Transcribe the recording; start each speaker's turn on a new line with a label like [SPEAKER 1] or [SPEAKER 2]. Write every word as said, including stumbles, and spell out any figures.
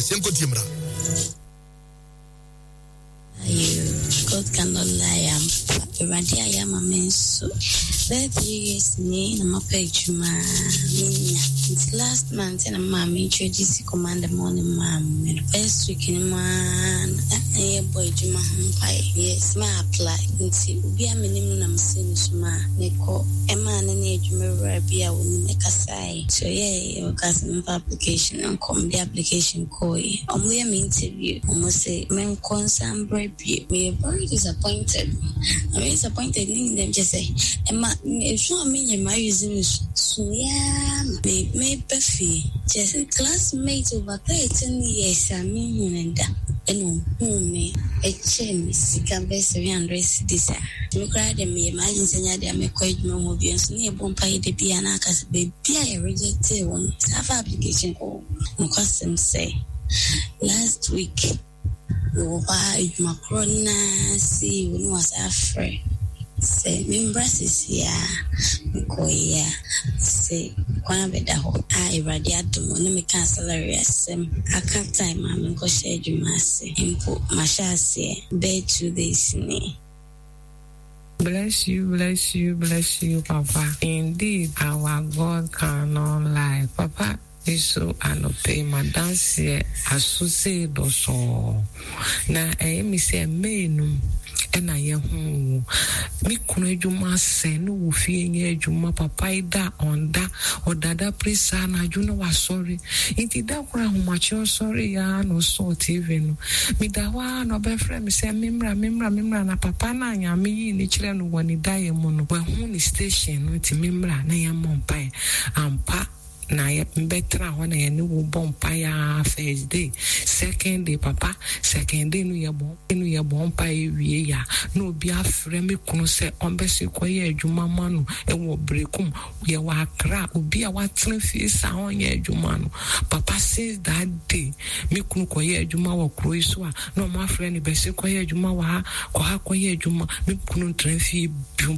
[SPEAKER 1] Yɛnkɔtie mmra.
[SPEAKER 2] You, God cannot lie. Ampa Awurade ayɛ ama me nso. Bɛyɛ three years ni na mapɛ adwuma a menya. Nti last month na maame introduce Command the Morning maa me no. First week no mu ara na na yɛbɔ adwuma ho mpaeɛ. Yes, ma apply. Nti obi a menim no na mesɛ ne so ma mekɔ. Ɛmaa ne ne adwumawura bi a wɔnim ɛkasaeɛ. Nti ɔyɛɛ ɔkaa sɛ memfa application nkɔ. Mede application kɔɔeɛ. Ɔmo yɛ me interview. Ɔmo se menkɔ nsan mbrɛ bio. Meyɛ very disappointed. I'm disappointed ne nyinaa kyɛ sɛ ɛma esu a menya ma use me suyaa ma me meba fie. Kyɛ sɛ classmate over thirteen years a mehu ne da ɛna ohuu me, ɛkyɛɛ me sika bɛyɛ seven hundred cedis a me koraa de meyɛ m'adwene sɛ nyɛ adeɛ a mɛkɔ adwuma mu bio, nso ne yɛbɔ mpaeɛ da bi a na aka sɛ baabi a yɛrejectee wɔ no saa fa application kɔ. Nokwasɛm sɛ last week mewɔ hɔ a, adwuma korɔ naa C E O no wasa afrɛ sɛ membra seesei a mekɔeɛ a sɛ kwan abɛda hɔ a Awurade adom ɔne meka salary asɛm aka time a menkɔhyɛ adwuma ase mpo mahyɛ aseɛ bɛyɛ two days ni.
[SPEAKER 3] Bless you, bless you, bless you, Papa. Indeed, our God cannot lie. Papa, nso anɔpɛ yi madanseɛ aso sei dɔsɔɔ na ɛyɛ mi sɛ May no ɛna yɛho wo. Me kunu adwuma asɛ ne wɔ fie nyɛ adwuma. Papa yi da ɔnda, ɔdada pere saa anadwo na wasɔre, nti da koro ahomakye ɔsɔre ya na ɔsɔɔ T V no. Meda hɔ a na ɔbɛfrɛ me sɛ memmra, memmra, memmra na papa no a Nyame yii ne kyerɛ no wɔ ne daeɛ mu no wahu ne station no, nti memmra na yɛmmɔ mpaeɛ. Ampa na yɛ mbɛtena hɔ na yɛne wo bɔ mpaeɛ a first day, second day, papa, second day no yɛbɔ no yɛbɔ mpaeɛ wie ya na obi afrɛ me kunu sɛ ɔmbɛsi kɔyɛ adwuma ma no ɛwɔ Brekum. Yɛwɔ Akra. Obi a watena fie saa ɔnyɛ adwuma no, papa, since that day me kunu kɔyɛ adwuma wɔ kuro yi so a na ɔmo afrɛ no bɛsi kɔyɛ adwuma wɔ ha, kɔ ha kɔyɛ adwuma. Me kunu ntena fie bio.